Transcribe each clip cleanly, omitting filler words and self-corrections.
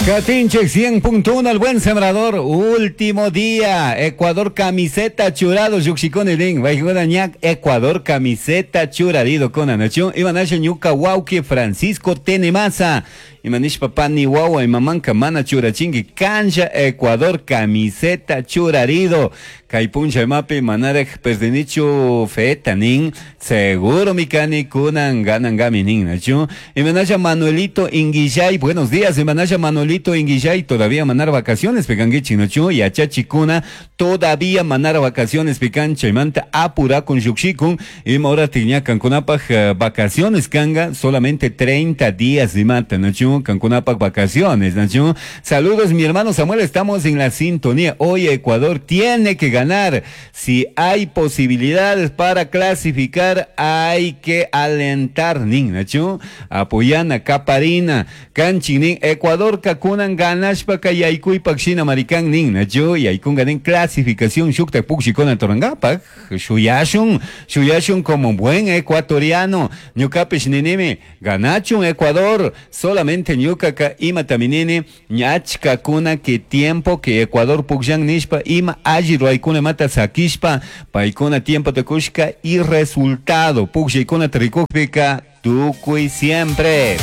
Catinche 100.1 el buen sembrador, último día, Ecuador camiseta churado, llukshikuni nin, ñak Ecuador camiseta churarido con anación, imanasha ñuka wauki Francisco Tenemasa, imanishpa pani wawa imamanka mana churachinki, cancha Ecuador camiseta churarido, kay puncha imapi manaraj perdinichu feta nin, seguro mikani kunan ganangami nin, nachu, imanasha Manuelito Inguillay, buenos días, imanasha Manuelito Inguillay, todavía manar vacaciones, pekanguichi, nachu, yachachikuna, todavía manar vacaciones, pekan, chaymanta apura con yuxikun, ima hora tiña kankunapaj vacaciones kanga, solamente 30 días de mata, nachu, kankunapaj vacaciones, nachu. Saludos, mi hermano Samuel, estamos en la sintonía. Hoy Ecuador tiene que ganar. Si hay posibilidades para clasificar, hay que alentar, nin, nachu. Apoyana, Caparina, Canchinin, Ecuador, kakunan ganashpa kayaykuypak shina marikan nin, nachu, yaykunga nin clasificación shuktak pukshikuna torangapak, shuyashun, shuyashun como buen ecuatoriano, ñukapish ninimi, ganachun Ecuador, solamente ñukaka ima taminini, ñachka kuna que tiempo que Ecuador pukshan nishpa, ima alli ruaykuna mata sakishpa, paykuna tiempo takushka y resultado, pukshaykuna trikukpika, tukuy siempre.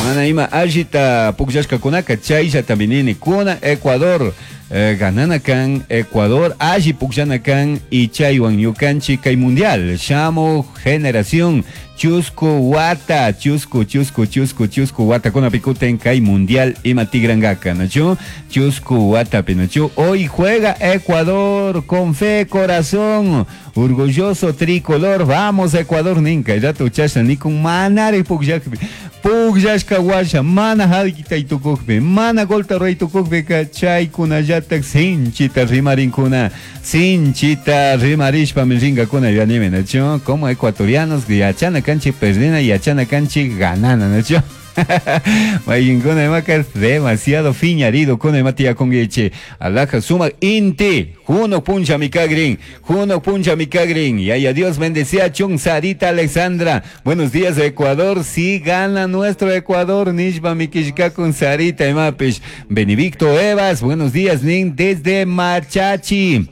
Mana ima allita pukllashkakunaka chaylla taminini kuna Ecuador ganana kan Ecuador alli pukllana kan y chaywan ñukanchik kay mundial shamuj generación chusku wata chusku chusku chusku chusku watakuna pikuten kay mundial ima tigrangaka nachu chusku watapi nachu hoy juega Ecuador con fe corazón orgulloso tricolor vamos Ecuador ninka rato chashna nikun manari pukllakpi pukllashka washa mana harkitay tukukpi mana golta ruray tukukpika chaykunallatak sinchita rimarinkuna sinchita rimarishpami rinkakuna yanimi nachu como ecuatorianos yachana kanchik perdina yachana kanchik ganana nachu Mayinkuna imaka demasiado fiñarido kuna ima tiyakunkichik alaja sumak inti juno puncha mikagrin juno puncha mikagrin yaya Dios bendecía chun Sarita Alexandra buenos días Ecuador si gana nuestro Ecuador nishpa mikishkakun Sarita imapish Benedicto Evas buenos días nin desde Machachi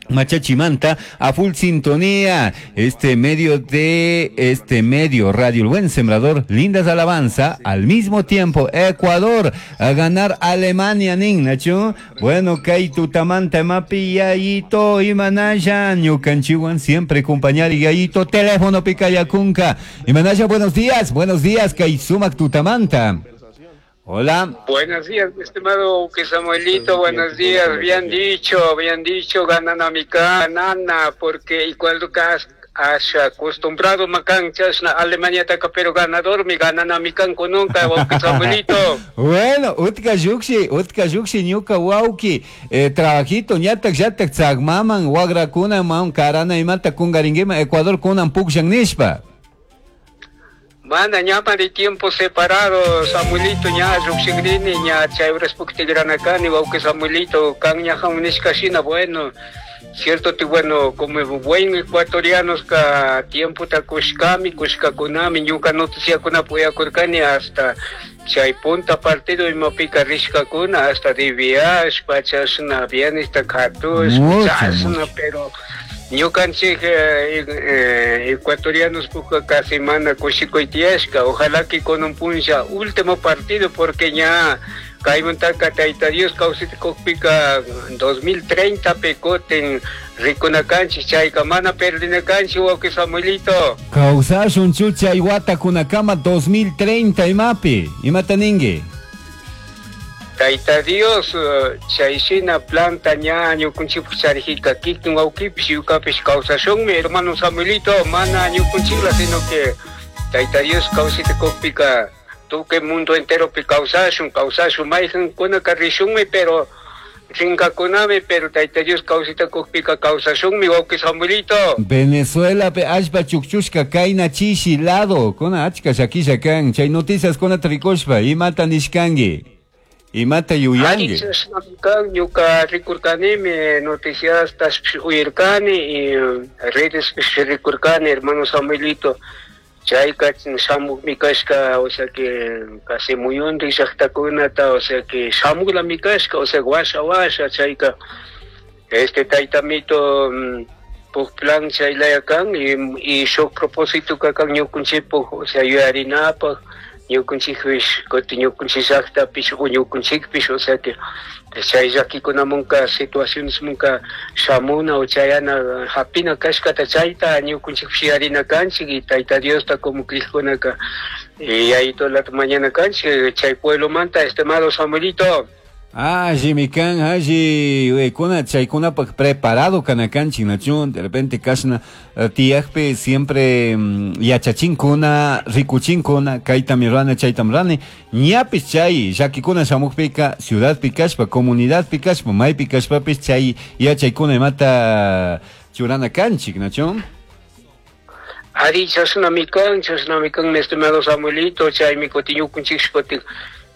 Machachimanta a full sintonía, este medio de este medio Radio El Buen Sembrador, lindas alabanza, al mismo tiempo Ecuador a ganar Alemania, nin, Nacho. Bueno, kay tutamanta mapi yayito imanaya, ñukanchiwan siempre acompañar y yayito teléfono picayakunka. Imanaya, buenos días, kay sumak tutamanta. Hola. Buenos días, mi estimado Samuelito, buenos días. Bien dicho, ganan mi nana, porque igual has acostumbrado macan chasna Alemania taca, pero ganador mi ganan a mi canco nunca, Samuelito. Bueno, utka yuxi, ñuka wauki, trabajito, ñatak, yatak, tzagmaman, wagrakuna, man, karana, imata, kungaringuima, Ecuador, kunan, pukshan, nishpa. Mana ñama de tiempo separado, Samuelito, ña lluqshikrini, ña chay urashpuktigranakani, wawqi Samuelito, kan ñajan nishkashina, bueno, cierto te bueno, como buen ecuatorianos ka tiempo ta kushkami, kushkakunami, ñuka noticiakuna puyakurkani hasta chay punta partido imapika rishkakuna, hasta de viaje, chashna bienes ta katush, chashna, pero ñukanchik ecuatorianos puka casi mana kushikuytiyashka, ojalá que con un puncha último partido porque ña kaymuntaka Tayta Dios kawsaytukukpika 2030 pikutin rikunakanchik chayka mana perdinakanchik wawqi Samuelito. Kawsashun chay watakunakama 2030 imapi, imata ninki? Tayta Dios chayshina planta ña ñukunchikpuk charijika kikin wawqipish ñukapish kawsashunmi hermano Samuelito, mana ñukunchikla sino que Tayta Dios kawsaytukukpika tukuy mundo enteropi kawsashun, kawsashun mayqankunaka rishunmi pero rinkakunami, pero Tayta Dios kawsaytukukpika kawsashunmi wawqi Samuelito. Venezuela pe allpa chukchushka kayna chishi lado kuna achka llakisha kan chay noticias kunata rikushpa imata nishkanki. Imata yuyanki. Ñuka rikurkanimi noticias uyirkani y redes rikurkani hermano Samuelito. Chayka shamukmi kashka, o sea que casi muyundik llaktakunata, o sea que shamuklami kashka, o sea washa washa chayka este taytamito puk plan chaylaya kan y shuk propósito kan ñukunchikpuk, o sea yuyarinapaq ñukunchikpish kutin ñukunchik llaktapish o ñukunchikpish, o sea que chay llakikunamunka situacionesmunka shamuna o chayana hapina kashkata chayta ñukunchikpish yuyarina kanchik y Tayta Diosta como crigkunaka yayitolata mañana kanchik chay pueblomanta, estimado Samuelito. Allimi kan, alli kuna chaykunapaq preparado kana kanchik, nachu? De repente kashna tiyakpi siempre yachachinkuna, rikuchinkuna, kaytami rurani, chaytami rurani, ñapish chay llakikuna shamukpika ciudadpi kashpa, comunidadpi kashpa, maypi kashpapish chay yachaykuna imata churana kanchik, nachu? Ari, chashnami kan, chashnami kan, mi estimado Samuelito, chaymi kutin ñukunchik kutin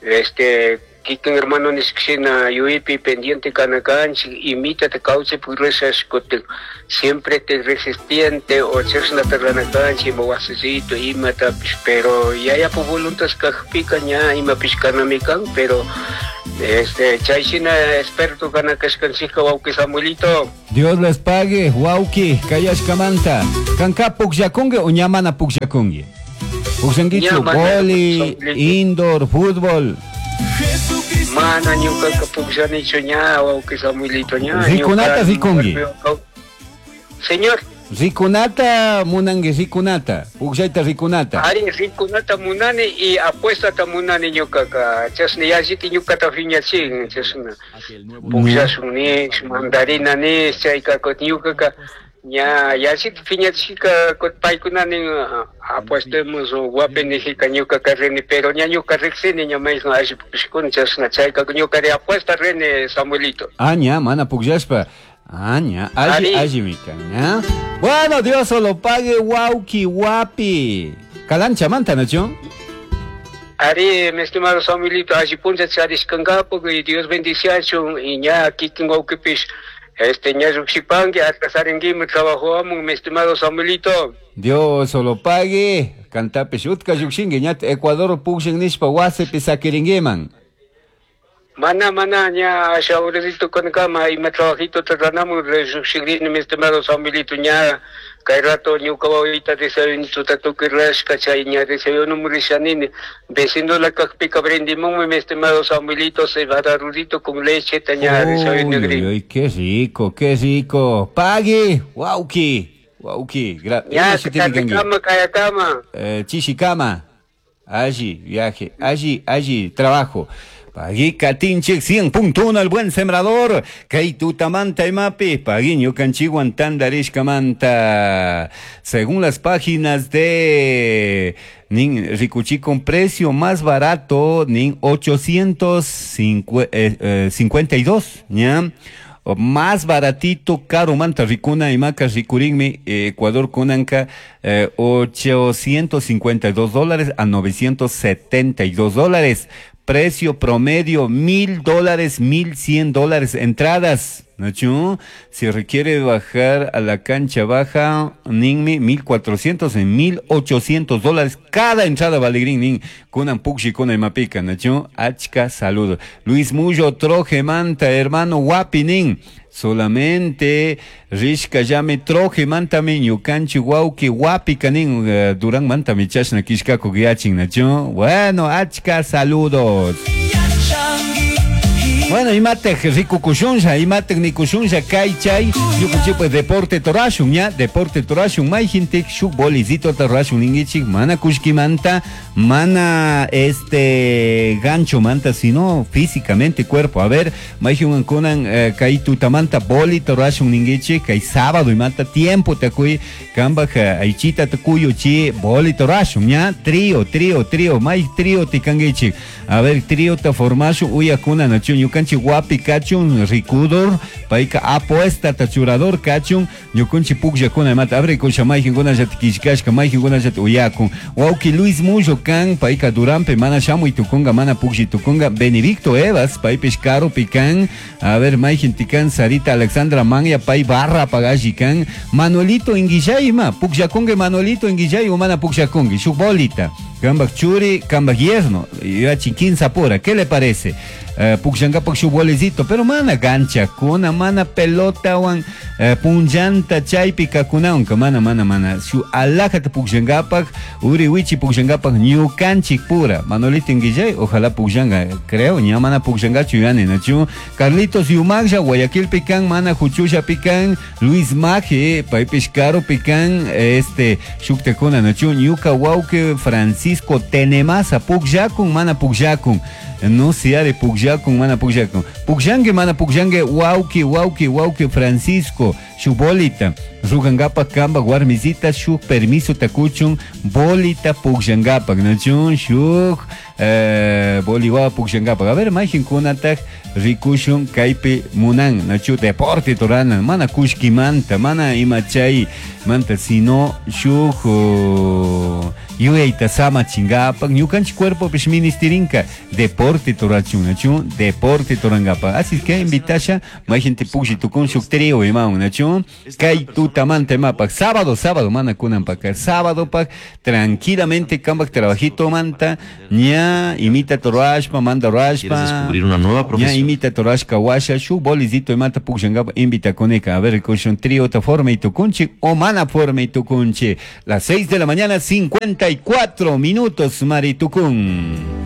este kikin hermano nishkashina yuyaypi pendiente kana kanchik imitata kawsaypi rishash kutin siempre te resistiente o chashnata rurana kanchik ima wasisito imatapish, pero yayapu voluntad kajpika ña imapish kanami kan, pero este chay shina experto kana kashkanchikka, wawki Samuelito. Dios les pague, wawki, kayashkamanta. Kanka pukllakunki o ña mana pukllakunki? Pukllankichu Ña mana boli, Samuelito. Indoor, fútbol? Mana ñukaka pukllanichu ña, wawki Samuelito, ña. Rikunata ñuka rikunki. Señor. Rikunata munanki, rikunata, pukllayta rikunata. Ari, rikunata munani y apuestata munani ñukaka. Chashna yallita ñukata phiñachin, chashna. Pukllashun nish, mandarina nish, chayka kutin ñukaka ña yallita phiñachishka kutin paykuna nin apuestemos guapi nijika ñukaka rini, pero ña ñuka riksini ña mayjan alli pukllashkuna chashna chayka ñukari apuesta rini, Samuelito. Ah, ña, mana pukllashpa. Ah, ña, alli, Ari. alli mi kan, ña. Bueno, Dios solo pague, wawki, wapi. Calancha manta, ¿no? Ari, mi estimado Samuelito, alli puncha charishkankapak y Dios bendiciachun y ña kikin wawkipish este ña llukshipanki atrasaringuimi trabajo amun, mi estimado Samuelito. Dios solo pague, cantapish utka llukshinki, ña Ecuador pukshin nishpa wasipi sakiringuiman. Mana, mana, ña asha horatito kankama ima trabajito tratanamun llukshirini, mi estimado Samuelito, ña kay rato ñuka wawita desayuno tukuy rurashka chay ña desayuno rishanini vecino la kakpika brindimunmi, mi estimado Samuelito, cebada rudito con leche ta ña desayuno Uy, uy, gris. uy, qué rico, qué rico. Pagui, wawki, wawki. Ña Ima shutimi kanki? kama kayakama. Chishikama. Allí, viaje, allí, allí, trabajo. Pagui katinchik 100.1 el buen sembrador. Kay tutamanta imapi. Pagui ñukanchikwan tandarishkamanta. Según las páginas de nin rikuchi con precio más barato, nin 852, ¿ya? O más baratito, caro manta ricuna y maca ricurinmi, Ecuador kunanka, 852 dólares a 972 dólares. Precio promedio $1,000, $1,100 entradas. ¿Nachu? Si requiere bajar a la cancha baja, ninmi, 1400 en 1800 dólares cada entrada valigrin, nin, kunan pukshi, kunan mapika, nachu? Achka, saludo. Luis Mullo, troje manta, hermano guapi, nin. Solamente rishka llame troje mantami ñukanchi wawki wapi kanin Durán mantami chashna kishkaku yachin, nachu? Bueno, achka saludos. Bueno, imatek rikukushunlla, imatek nikushunlla, kay chay, ñukanchik deporte torashun, ya, deporte torashun, mayjintik shuk bolizito torashun ningichik, mana kushkimanta, mana este gancho manta, sino físicamente cuerpo. A ver, mayjin kunan kay tutamanta boli torashun ningichik, kay sábado imata tiempo takuy, kambaj aychita takuyo chi boli torashun, ya, trío, trío, trío, may trío tikangichik. A ver, trío ta formashun, uyakuna nachu ñukanchik. Ñukanchik wapi kachun rikudor, payka apuestata churador kachun, ñukanchik pukllakuna imata abrikusha mayqinkunallata killkashka, mayqinkunallata uyakun. Wawki Luis Mullo kan, payka Duranpi mana shamuy tukunka, mana puklli tukunka. Benedicto Evas, paypish karupi kan. A ver, mayqinti kan, Sarita Alexandra Manya, pay barra pagalli kan. Manuelito Inguillay ima, pukllakunki Manuelito Inguillay o mana pukllakunki, shuk bolita. Kambak churi, kambak yerno, yachin kinsa pura, ¿qué le parece? Pukllankapak shuk bolecito, pero mana ganchakuna, mana pelotawan, punllanta chaypi kakunawanka, mana, mana, mana. Shuk alajata pukllankapak, uri wichi pukllankapak ñukanchik pura. Manuelito Inguillay, ojalá pukllanka, creo, ña mana pukllankachu yuyani, nachu. Carlitos Yumaglla, Guayaquilpi kan, mana Juchullapi kan, Luis Maje, paypish karupi kan, shuktakuna, nachu. Ñuka wawki Francisco Tenemasa, pukllakun, mana pukllakun. No se are pukllakun, mana pukllakun. Pukllanki, mana pukllanki, wawki, wawki, wawki Francisco, shuk bolita. Rugangapak kamba warmisita, shuk permiso takuchun, bolita pukllangapak, nachun, shuk boliwawa pukllangapak. A ver, mayqinkunataj rikushun kaypi munan, nachu deporte torana, mana kushkimanta, mana ima chay manta, sino shuk, yuyayta samachingapak, ñukanchik cuerpopish ministirinka deporte torachun, nachu deporte torangapak. Así que invitasha, mayqinti puklli tukun shuk trío imawan, nachu kay tutamanta imapak, sábado, sábado, mana kunanpak, sábado pak, tranquilamente kambak trabajito manta, ña imita torashpa, manda rashpa, ¿Quieres descubrir una nueva ña profesión? imita torashka washa, shuk bolizito imata pukllangapa invita koneka. A ver, con trío ta forma y tukunchi, o mana forma y tukunchi. Las 6 de la mañana, 54 minutos, Maritucún.